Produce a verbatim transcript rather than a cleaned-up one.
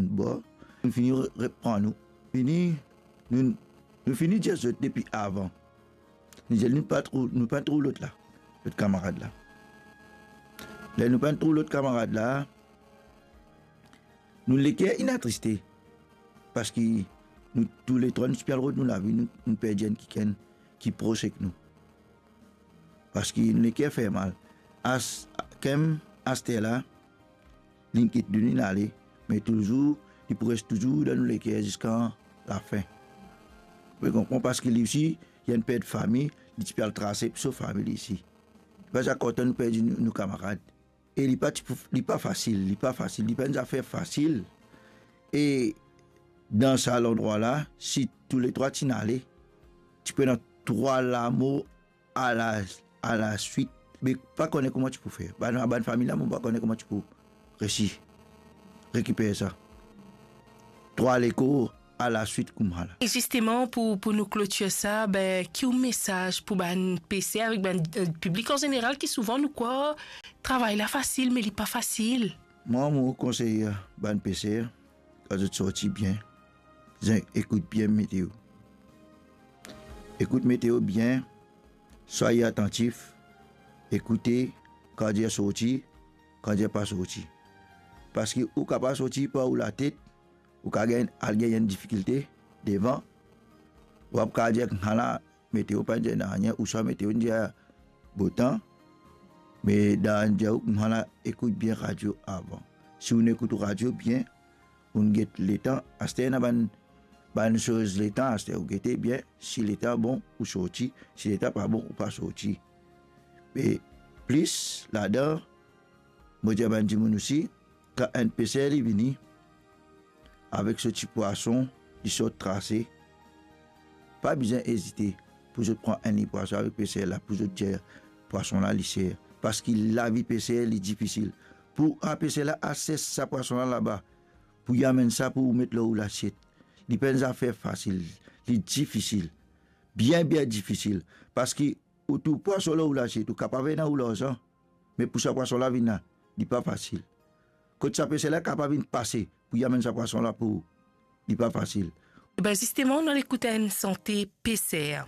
bor, nou fini re-, repran nou. Fini, nou, nou fini dir zot depi avan. Nou dir, nou pa trouv, nou pa trouv lot la, lot kamarad la. Ler nou pa trouv lot kamarad la, nou leker inn atriste, parski nou touletrwa nou ti pe al rod nou lavi, nou, nou perdi enn kikenn ki pros ek nou. Parski nou leker fer mal. As-, kem aster la, linn kit nou, linn ale, me touzour, li pou res touzour dan nou leker ziska lafin. Ou konpran, parski li osi, li inn perd fami, li ti pe al trase pou so fami li isi. Li pa ti kontan nou perdi nou, nou kamarad. E li pa ti pou, li pa fasil, li pa fasil, li pa enn zafer fasil. E dan sa landrwa la, si touletrwa ti inn ale, ti pou ena trwa lamor a la, a la swit, me pa kone kouma ti pou fer. Bann, bann fami la, mo pa kone kouma ti pou resi rekiper sa. Trwa lekor a la swit koumsa la. E zisteman, pou, pou nou klotir sa, be, ki ou mesaz pou bann peser avek bann, eh, piblik an zeneral ki souvan nou krwar travay la fasil, me li pa fasil? Mwa, mo konsey bann peser, kan zot sorti, bien, zot ekout bien meteo. Ekout meteo bien, swaye atantif, ekoute kan dir sorti, kan dir pa sorti. Parski ou kapav sorti par ou latet, ou kapav gagn, al gagn enn difikilte devan, ou ap kapav dir, "Ala, meteo pa dir nanye," ouswa meteo dir botan, me dan dir ou, "Ala, ekout bien radio avan." Si ou ekout radio bien, ou get letan, aster ena bann, bann soz letan, aster ou gete bien, si letan bon, ou sorti, si letan pa bon, ou pa sorti. Me plis ladan, mo dir bann dimoun osi, kan enn peser li vini avek so ti pwason, li sort trase, pa bizin ezite pou zot pran enn pwason avek peser la, pou zot dir pwason la li ser, parski lavi peser li difisil. Pou a peser la al sers sa pwason la laba, pou li amenn sa pou ou met lor ou lasiet, li pa enn zafer fasil, li difisil, bien, bien difisil, parski ou trouv pwason lor ou lasiet, ou kapav ena ou larzan, me pou sa pwason la vinn la, li pa fasil. Kot sa peser la kapav vinn pase pou li amenn sa pwason la pou ou, li pa fasil. Be, zisteman, nou al ekout enn sante peser.